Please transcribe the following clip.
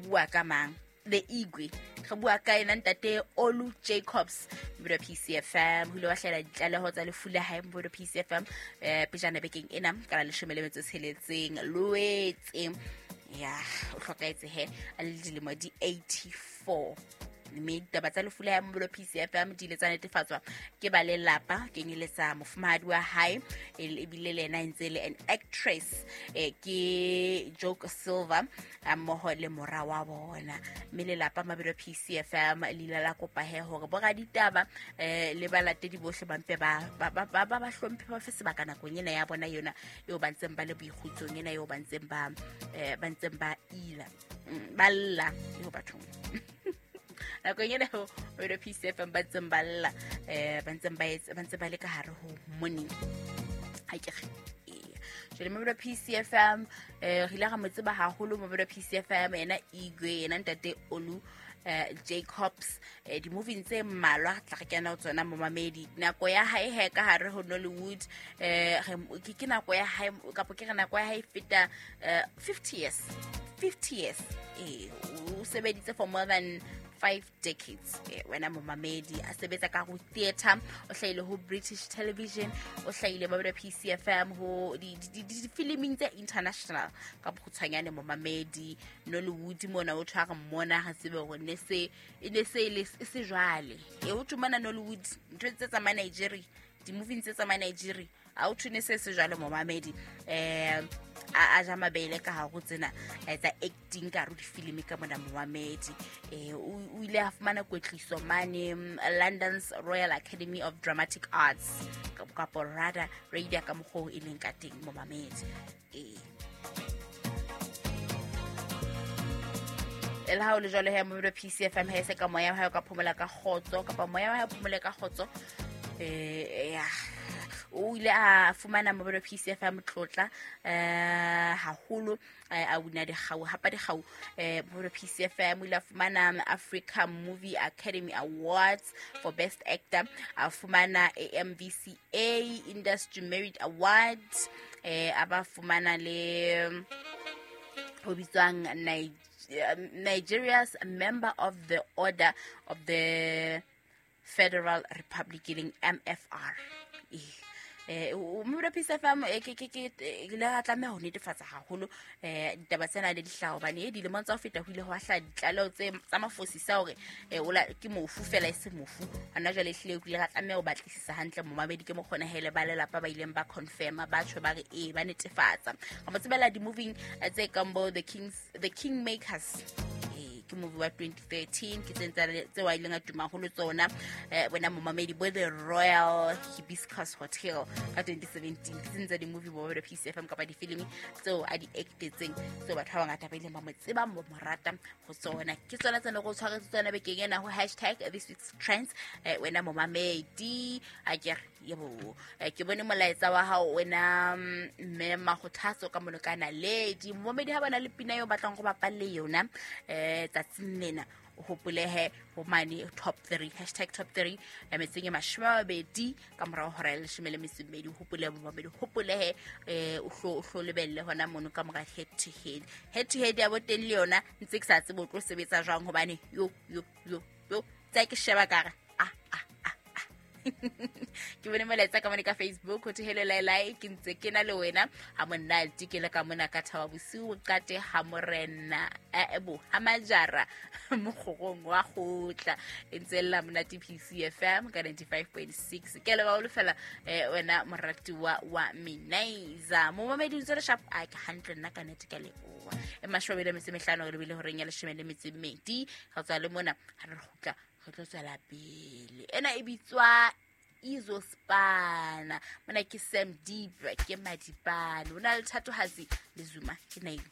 Bua ka mang? The Igwe. Re bua ka ena ntate Olu Jacobs, Mbodo PCFM. Ho ile wa hlahela ditlaleho tsa lefu la hae Mbodo PCFM pejana bekeng ena ka la 16 Loetse. Ya, o hlokahetse he a le dilemo di 84. Mme ditaba tsa lefu la hae Mbodo PCFM di ile tsa netefatswa ke ba lelapa, kenyeletsa mofumahadi wa hae, ebile le yena e ntse le an actress, ke Joke Silva, mmoho le mora wa bona. Mme lelapa Mabelo PCFM le ile la kopa he hore boraditaba le balatedi bohle ba mpe ba hlomphe, ba fe sebaka nakong ena ya bona yona eo ba ntseng ba le boikgutsong, ena eo ba ntseng ba ba ntseng ba ila, ba lla eo bathong. Nakong ena eo Mabelo PCFM ba ntseng ba lla, ba ntseng ba etsa, ba ntse ba le ka hare ho morning. Ha ke re jwale Mabelo PCFM, re ile ra mo tseba haholo Mabelo PCFM, yena Igwe, yena ntate Olu Jacobs, di-moving tse mmalwa tla re kena ho tsona momamedi. Nako ya hae he ka hare ho Nollywood, ke nako ya hae, kapa ke re nako ya hae e feta 50 years, 50 years. O sebeditse for more than 5 decades, wena momamedi, a sebetsa ka ho theatre, o hlahile ho British television, o hlahile Mabelo PCFM ho di-filming tse international ka bokgutshwanyane momamedi. Nollywood mona o tshware mmona, ga tsebe hore ne se e ne se le e se jwale e ho thwe mona Nollywood ntho tse tsamaya Nigeria, di-moving tse tsamaya Nigeria, a o thwe ne se se jwale momamedi. A ja mabele ka hare ho tsena tsa acting ka hare ho difilimi ka mona momamedi. O ile a fumana kwetliso mane London's Royal Academy of Dramatic Arts, kapo rada radio ka mokgwa oo e leng ka teng momamedi. E le ha o le jwalo he Mabelo PCFM, he se ka moya wa hae o ka phomola ka kgotso, kapa moya wa hae o phomole ka kgotso. Ya, o ile a fumana Mabelo PCFM tlotla haholo, a wina dikgau, hapa dikgau, Mabelo PCFM. O ile a fumana Africa Movie Academy Awards for Best Actor, a fumana AMVCA Industry Merit Award, a ba fumana le ho bitswang Nigeria's Member of the Order of the Federal Republic, e leng MFR. Mabelo PCFM, ke ile ra tlameha ho netefatsa haholo ditaba tsena le dihlaho, hobane dilemong tsa ho feta ho ile hwa hlaha ditlaleho tse tsa mafosisa hore ola ke mofu fela e se mofu. Hona jwale ehlile ho ile ra tlameha ho batlisisa hantle momamedi, ke mokgona hele ba lelapa ba ileng ba confirma, ba tjho ba re ee, ba netefatsa. Ra mo tsebela di-moving tse kang bo The Kings, The Kingmakers, ke movie wa 2013, ke tse tseo a ileng a tuma haholo tsona, bona momamedi, bo The Royal Hibiscus Hotel ka 2017, ke tse tsa di-movie bo Mabelo PCFM kapa difilimi tseo a di actetseng, tseo batho ba bangata ba ileng ba mo tseba, mo rata ho tsona. Ke tsona tse ne go tshwaretse tsona bekeng ena ho hashtag this week's trends, wena momamedi. A ke re yebo, ke bone molaetsa wa hao wena, mme Magothatso ka mono ka Naledi. Momamedi, ha bana le pina eo batlang go bapalle yona tsatsing lena, o hopolehe ho mane top 3, hashtag top 3, metseng e 20 ka morao hora ya 12. Hopole momamedi, hopolehe o hlo lebelle hona mono ka mora head to head, head to head ya bo teng le yona ntse ke sa tsebe o tlo sebetsa jwang, hobane yo yo yo yo tsa ke sheba kare ah ah ah ah. Ke bone molaetsa ka mone ka Facebook, ho thwe hello Laelae, ke ntse ke na le wena ha monate, ke le ka mona ka Thaba Bosiu, qate ha morena bo ha majara mokgorong wa kgotla, e ntse lla monate PCFM ka 95.6. Ke leboha o fela, wena moratuwa wa Minaiza momamedi, ntse le sharp a ke hantle nna ka nete ka leboha. E 25 re lebile horeng ya 12, re tswa le mona, ha re kgutla re tlo tswela pele. Ena e bitswa Izospana, mona ke Sam Deep, ke Madipane, o na le Thatohatsi le Zuma, ke Naile.